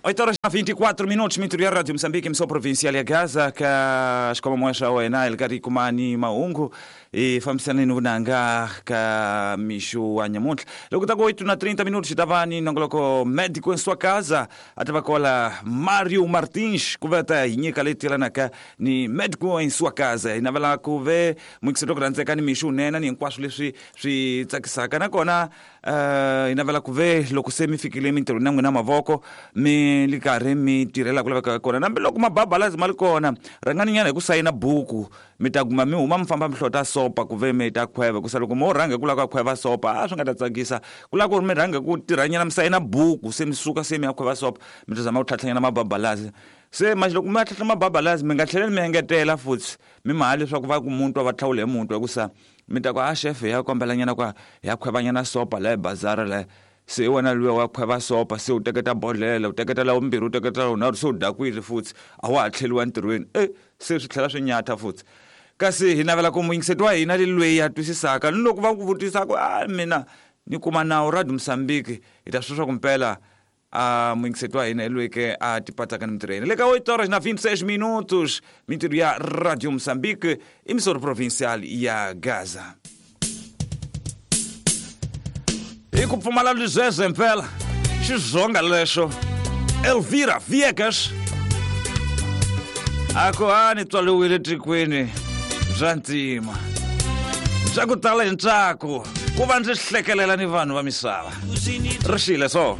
8 horas 24 minutos, mintirho ya Radio Moçambique, emissão provincial ya Gaza, ka xikhomamo xa wena hi le karhi hi kuma ni mahungu hi fambisana ni vunanga ka mixo wa nyamuntlha. Loko ta ku 8 na 30 minutos hi ta va ni nongoloko Médico em Sua Casa, a ta va kola Mario Martins ku va ta hi nyika leyi tiyelanaka ni Médico em Sua Casa. Hi navela ku ve muyingiseri ku rhandzeka ni mixo wunene ni hinkwaswo leswi swi tsakisaka, nakona hi navela ku ve loko se mi fikile emintirhweni ya n'wina mavoko mi li karhi mi tirhela ku lavekaka kona, nambi loko mababalazi ma li kona, rhangani nyana hi ku sayina buku, mi ta kuma mi huma mi famba mi hlota sopa ku ve mi ta khweva, hikusa loko mo rhanga ku lava ku khweva sopa a swi nga ta tsakisa. Ku lava ku ri mi rhanga ku tirhanyana mi sayina buku, se mi suka se mi ya khweva sopa, mi ta zama ku tlhatlhanyana mababalazi. Se manje loko mi ya tlhatlha mababalazi, mi nga tlheleli mi engetela futhi mi ma leswaku va ku muntu va tlhawule hi muntu, hikusa mi ta ku a chef ya kombelanyana ku ya khwevanyana sopa la bazara la. Se wena luya wa khweva sopa, se u teketa bodlela, u teketa la vumbirhi, u teketa la vunharhu, se u dakwile futhi a wa ha tlheliwa ntirhweni, e se swi tlhela swi nyatha futhi. Kasi hi navela ku muyingiseti wa hina le loyi a twisisaka, ni loko va ku vutisa ku a mina ni kuma nawu Radio Mozambique, hi ta swi swa ku mpela a muyingiseti wa hina hi loyi ke a tipatsaka ni mintirho ya hina. Le ka 8 horas na 26 minutos, mintirho ya Radio Mozambique, emissora provincial ya Gaza. Hi ku pfumala lizeze mpela xizonga lexo Elvira Viegas a ku a ni tswaliwile tikweni bya ntima bya ku tala hi ntsako ku va ndzi hlekelela ni vanhu va misava ri xile so.